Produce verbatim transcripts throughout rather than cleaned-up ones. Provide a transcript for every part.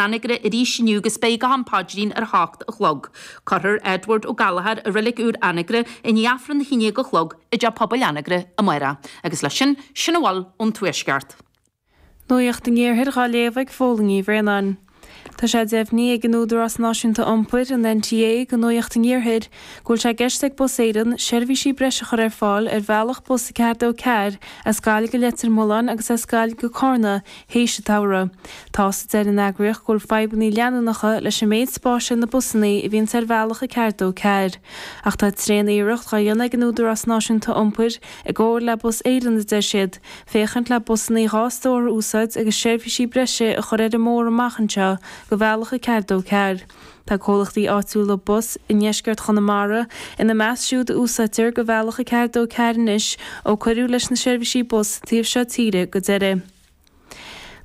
Anagaire arís inniu agus beidh go ham paidrín ar hocht a chlog. Cuirfear Edward Ó Gallchóir i reilig úr Anagaire i ndiaidh Aifreann a haon déag a chlog i dTeach Pobail Anagaire amárach. Agus leis sin, sin a bhfuil ón Tuaisceart. Nuacht an Iarthair á léamh ag Fódhla Ní Bhraonáin. Tá sé deimhnithe ag an Údarás Náisiúnta Iompair, an NTA, do Nuacht an Iarthair, go bhfuil sé i gceist ag Bus Éireann seirbhísí breise a chur ar fáil ar bhealach bus a ceathair dó ceathair as Gaillimh go Leitir Mealláin agus as Gaillimh go Carna théis an tsamhraidh. Tá a deir an eagraíocht go bhfuil fadhbanna leanúnacha leis an méid spáis ar na busanna a bhíonns ar bhealach a ceathair dó ceathair. Ach tá tréan-iarracht á dhéanamh ag an Údarás Náisiúnta Iompair i gcomhar le Bus Éireann a deir siad, féachaint le busanna dhá stór a úsáid agus seirbhísí breise a chur ar an mbóthar amach anseo go bhealach a ceathair dó ceathair. Tá comhlachtaí áitiúla bus i ndeisceart Chonamara ina measc siúd a úsáidtear go bhealach a ceathair dó ceathair anois ó cuireadh leis na seirbhísí bus taobh seo tíre go deireadh.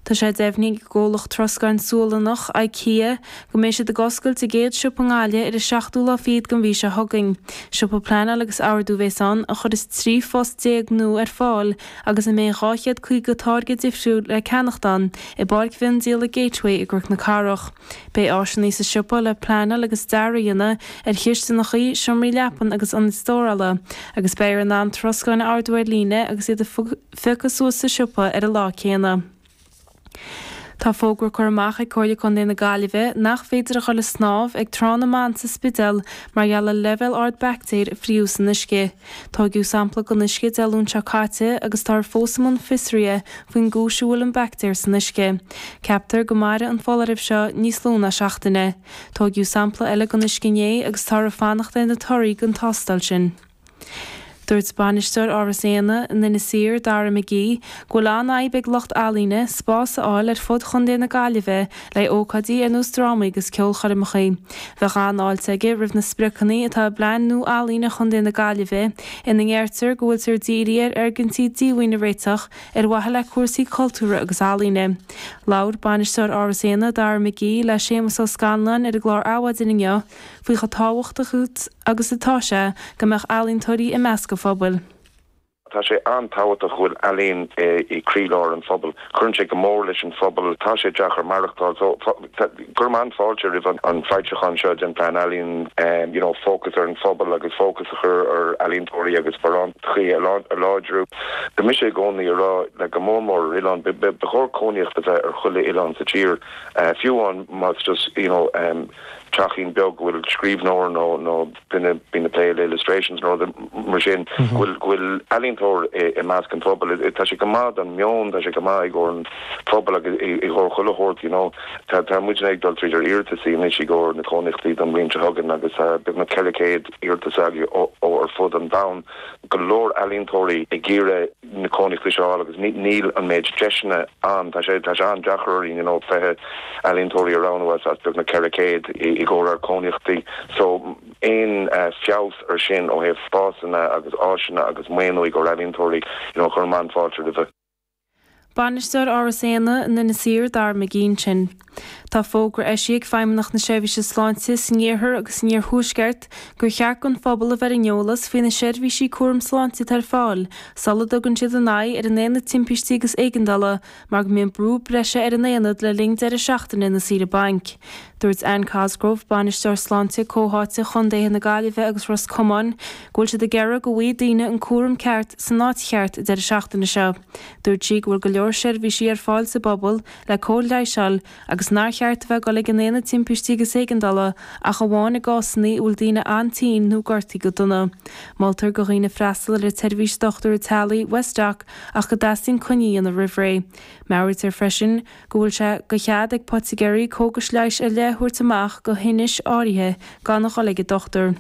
Tá sé deimhnithe ag an gcomhlacht troscáin Sualannach IKEA go mbeidh siad ag oscailt a gcéad siopa i nGaillimh ar an seachtú lá fichead den mhí seo chugainn. Siopa pleanáil agus ordú a bheas ann a chuirfeas trí phost déag nua ar fáil agus a mbeidh dhá chéad caoga táirge difriúil le ceannacht ann i bPáirc Mhiondíola Gateway i gCnoc na Cathrach. Beidh áiseanna sa siopa le pleanáil agus dearadh a dhéanamh ar chistineacha, seomraí leapan agus ionaid stórála, agus beifear in ann troscáin a ordú ar líne agus iad a phiocadh suas sa siopa ar an lá céanna. Tá fógra curtha amach ag Comhairle Contae na Gaillimhe nach féidir a dhul ag snámh ag Trá na mBan sa Spidéal mar gheall ar leibhéal ard baictéir a fríothadh san uisce. Tógadh sampla den uisce Dé Luain seo caite agus táthar fós i mbun fiosraithe faoin gcúis a bhfuil an baictéar san uisce. Ceaptar go mairfidh an foláireamh seo níos lú ná seachtaine. Tógadh sampla eile den uisce inné agus táthar ag fanacht ar na torthaí den tástáil sin. Dúirt bainisteoir Áras Éanna in Inis Oírr, Dara McGee, go bhfuil an-fhadhb ag lucht ealaíne spás a fháil ar fud Chontae na Gaillimhe le ócáidí ar nós drámaí agus ceolchoirmeacha. Bheadh an-fháilte aige roimh na spriocanna atá i bPlean nua Ealaíne Chontae na Gaillimhe ina ndeirtear go bhfuiltear dírithe ar fhoirgintí díomhaoin a réiteach ar mhaithe le cúrsaí cultúrtha agus ealaíne. Labhair bainisteoir Áras Éanna, Dara McGee, le Séamus Ó Scanláin ar an gclár Adhmhaidin inniu faoi chomh tábhachtach agus atá sé go mbeadh ealaíontóirí i measc an phobail. Tá sé an-tábhachtach go bhfuil ealaín i gcroílár an phobail. Cuireann sé go mór leis an phobal, tá sé deacair maireachtáil so cuirim an-fháilte roimh an foilseachán seo den plean ealaíon you know, fócas ar an phobal agus fócas a chur ar ealaíontóirí agus sparántachaí a láidriú. Tá mise i gcónaí ag rá le go mór mór ar oileán, ba chóir cónaíocht a bheith ar chuile oileán sa tír fiú amháin más just you know, um, teachín beag go bhfuil scríbhneoir nó nó duine bíonn ag plé le illustrations nó mar sin go bhfuil go bhfuil ealaíontóir i measc an phobail tá sé go maith don meon tá sé go maith i gcomhair an phobal agus i gcomhair chuile shórt you know tá tá muid ag dul tríd ar iarratas anois i gcomhair na cónaíochtaí don bhliain seo chugainn agus beagnach ceithre chéad iarratas againn ó ar fud an domhain go leor ealaíontóirí ag iarraidh na cónaíochtaí seo agus níl an méid deiseanna ann tá sé tá sé an-deacair you know fiche ealaíontóirí a roghnú as as beagnach ceithre chéad i gcomhair ar cónaíochtaí so aon feabhas ar sin ó thaobh spásanna agus áiseanna agus maoiniú i gcomhair ealaíontóirí you know cuirim an-fháilte roimhe. Bainisteoir Áras Éanna in Inis Oírr Dara McGee ansin. Tá fógra eisithe ag Feidhmeannacht na Seirbhíse Sláinte san iarthar agus san iarthuaisceart gur cheart don phobal a bheith ar an eolas faoi na seirbhísí cúram sláinte atá ar fáil sula dtugann siad a n-aghaidh ar an aonad timpistí agus éigeandála mar go mbíonn brú breise ar an aonad le linn deireadh seachtaine na saoire bainc. Dúirt Anne Cosgrove, bainisteoir sláinte comhtháite Chontaetha na Gaillimhe agus Ros Comáin, go bhfuil siad ag iarraidh go bhfaighidh daoine an cúram ceart san áit cheart deireadh seachtaine seo. Dúirt sí go bhfuil go leor seirbhísí ar fáil sa bpobal le cóir leighis a fháil agus nár cheart a bheith ag dul ag an aonad timpistí agus éigeandála ach amháin i gcásanna a bhfuil daoine an-tinn nó gortaithe go dona. Moltar do dhaoine freastal ar an tseirbhís dochtúra teaghlaigh Westdoc ach go dteastaíonn coinne a dhéanamh roimh ré. Meabhraítear freisin go bhfuil sé de chead ag poitigéirí cógais leighis ar leith a thabhairt amach do thinnis áirithe gan a dhul ag an dochtúir.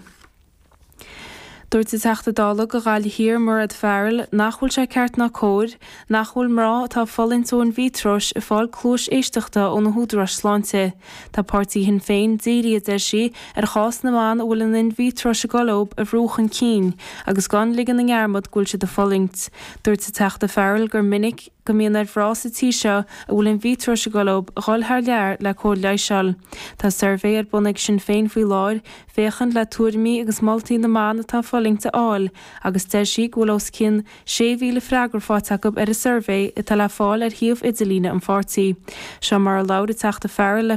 Dúirt an Teachta Dála do Ghaillimh Thiar Mairéad Farrell nach bhfuil sé ceart ná cóir nach bhfuil mná atá ag fulaingt ó in-vitreois ag fáil cluais éisteachta ó na húdaráis sláinte. Tá páirtí Shinn Féin dírithe, a deir sí, ar chás na mban a bhfuil an in-vitreois ag dul leo a bhrú chun cinn agus gan ligean i ndearmad go bhfuil siad ag fulaingt. Dúirt an Teachta Farrell gur minic go mbíonn ar mhná sa tír seo a bhfuil an mhíotrós ag dul leo a dhul thar lear le cóir leighis a fháil. Tá suirbhé ar bun ag Sinn Féin faoi láthair féachaint le tuairimí agus moltaí na mban atá ag fulaingt a fháil agus deir sí go bhfuil os cionn sé mhíle freagra faighte acu ar an suirbhé atá le fáil ar shuíomh idirlíne an pháirtí. Seo mar a labhair an Teachta Farrell le